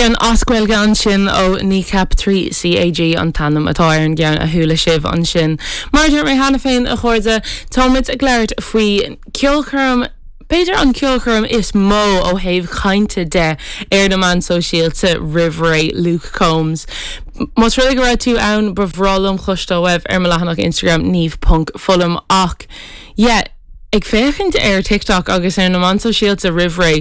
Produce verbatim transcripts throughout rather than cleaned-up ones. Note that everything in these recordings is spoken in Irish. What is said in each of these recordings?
Ceann as Gaeilge ansin ó Kneecap trí CAG an t-ainm atá ar an gceann a chuala sibh ansin. Mar dúirt mé cheana féin a chairde táimid ag labhairt faoi ceolchoirm B'fhéidir an ceolchoirm is mó ó thaobh cainte de ar na meáin sóisialta roimh ré Luke Combs. Más rud go raibh tú ann ba bhreá liom cloisteáil uaibh ar mo leathanach Instagram niamh ponc fullam ach yeah, ag féachaint ar TikTok agus ar na meáin sóisialta roimh ré,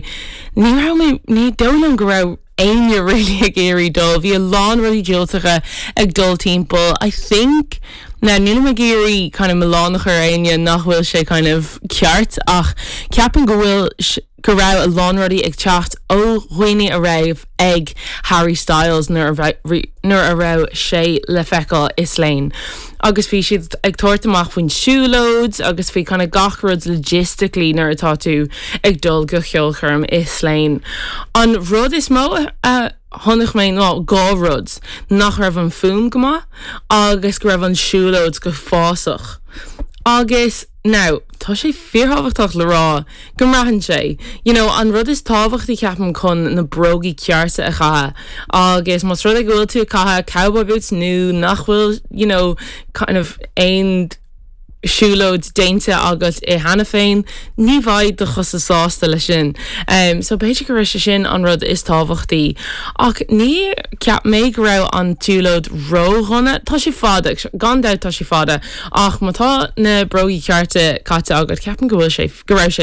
ní raibh mé ní dóigh liom go raibh éinne really ag iarraidh dul, bhí a lán rudaí diúltacha ag dul timpeall. I think na nílim ag iarraidh kind of milleán a chur ar éinne nach bhfuil sé kind of ceart ach ceapaim go bhfuil go raibh a lán rudaí ag teacht ó dhaoine a raibh ag Harry Styles nuair a nuair a raibh sé le feiceáil i Slane. Agus bhí siad ag tabhairt amach faoin siúlóid agus faoi kind of gach rud logistically nuair atá tú ag dul go ceolchoirm i Slane. An rud is mó a chonaic mé ná dhá rud nach raibh an fuaim go maith agus go raibh an siúlóid go fásach. Agus now tá sé fíorthábhachtach le rá go mbraitheann sé. You know, an rud is tábhachtaí ceapaim chun na bróga cearta a chaitheamh agus más rud é go bhfuil tú ag caitheamh cowboy boots nó nach bhfuil you know, kind of aon siúlóid déanta agat é cheana féin, ní bheidh do chosa sásta leis sin. Um, so b'fhéidir go raibh sé sin an rud is tábhachtaí. Ach ní cheap mé go raibh an tsiúlóid ródhona, Tá sé fada gan dabht tá sé fada ach má tá na bróga cearta caite agat ceapaim go bhfuil sé go raibh sé